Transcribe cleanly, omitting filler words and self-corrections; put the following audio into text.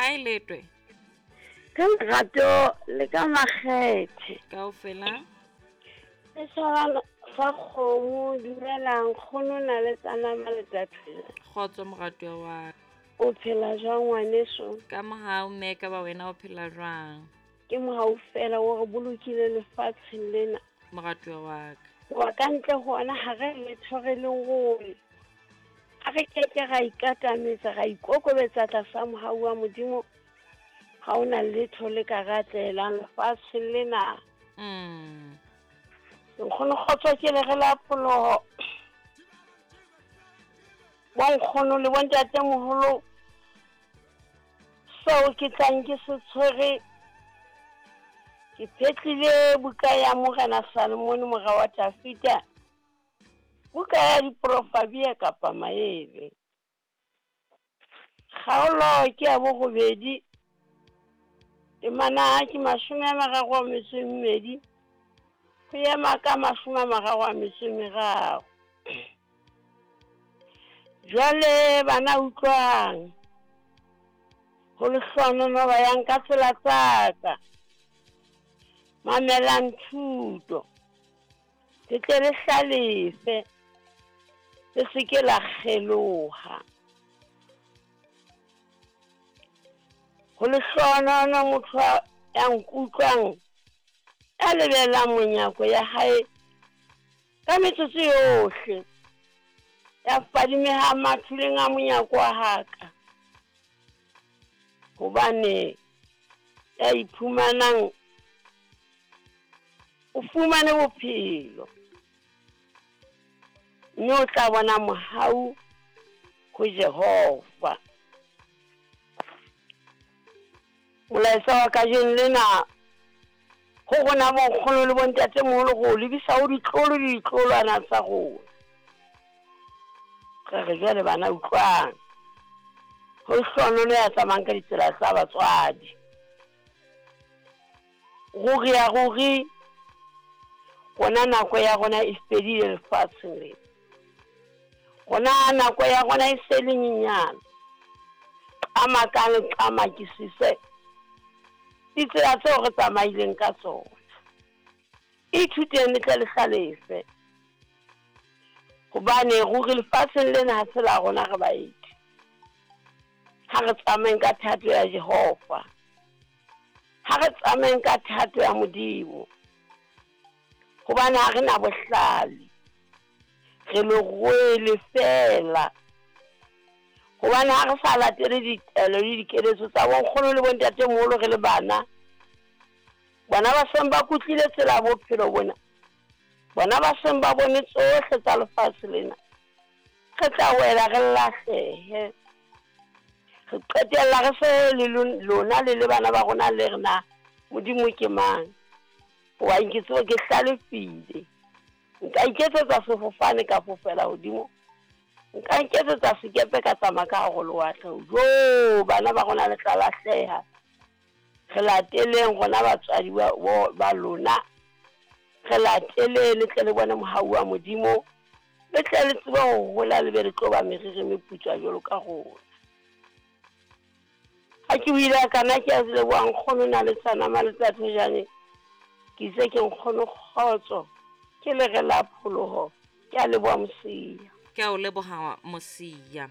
A e letwe. Ka lerato le ka makgethe. Kaofela. Setjhaba sa kgomo dumelang nkgono na le tsanama le taphela. Kgotso moratuwa wa ka. O phela jwang ngwaneso? Ka mohau mme ka ba wena o phela jwang? Ke mohau fela o re bolokile lefatsheng lena. Moratuwa wa ka. Hoba ka ntle ho ona ha re letho re le role. Ha re ke ke ra ikatametsa ra ikokobetsa tlasa mohau wa Modimo, ha o na letho le ka re atlehelang lefatsheng lena. Nkgono kgotso ke le re la pholoho. Bonkgono le bontatemoholo, seo ke tlang ke se tshwere, ke phetlile buka ya Morena Salomone mora wa Dafida, buka ya diprofabia kapa maele. Kgaolo ke ya borobedi, temana ke 32 ho ema ka 33. Jwale bana utlwang, ho lehlohonolo ba yang ka tsela tsa ka, mamelang thuto, le tle le hlalefe, le se ke la kgeloha. Ho lehlohonolo motho ya nkutlwang, ya lebelang monyako ya hae ka metsotso yohle, ya fadimehang mathuleng a monyako wa haka, hobane ya iphumanang o fumane bophelo, mme o tla bona mohau ho Jehova. Molaetsa wa kajeno lena ho rona bonkgono le bontatemoholo go lebisa ho ditlolo le ditlolwana tsa rona. Re re jwale bana utlwang, ho hlohonolo ya tsamayang ka ditsela tsa batswadi. Ruri ya ruri, rona nako ya rona e fedile lefatsheng lena. Rona nako ya rona e se le nyenyane. Qamakang le qamakisise ditsela tseo re tsamaileng ka tsona. Ithuteng le tle le hlalefe, hobane ruri lefatsheng lena ha se la rona re baeti. Ha re tsamayeng ka thato ya Jehova, ha re tsamayeng ka thato ya Modimo, hobane ha re na bohlale, re lerwele fela. Hobane ha re sa latele ditaelo le dikeletso tsa bonkgono le bontatemoholo re le bana, bona ba seng ba kutlile tsela ya bophelo bona, bona ba seng ba bone tsohle tsa lefatshe lena, re tla wela re lahlehe. Re qetella re se le lona le le bana ba rona le re na Modimo ke mang, hobane ke tsebo ke hlalefile, nka iketsetsa sefofane ka fofela hodimo, nka iketsetsa sekepe ka tsamaya ka hare ho lewatle. Jo, bana ba rona le tla lahleha. Re lateleng rona batswadi ba lona, re lateleng le tle le bone mohau wa Modimo, le tle le tsebe ho hola le be le tlo ba meriri meputswa jwalo ka rona. Ha ke buile kana ke a leboha nkgono na le tsanama le tsathojane, ke itse ke nkgono kgotso, ke le re la pholoho. Ke a leboha Mosia. Ke a o leboha Mosia.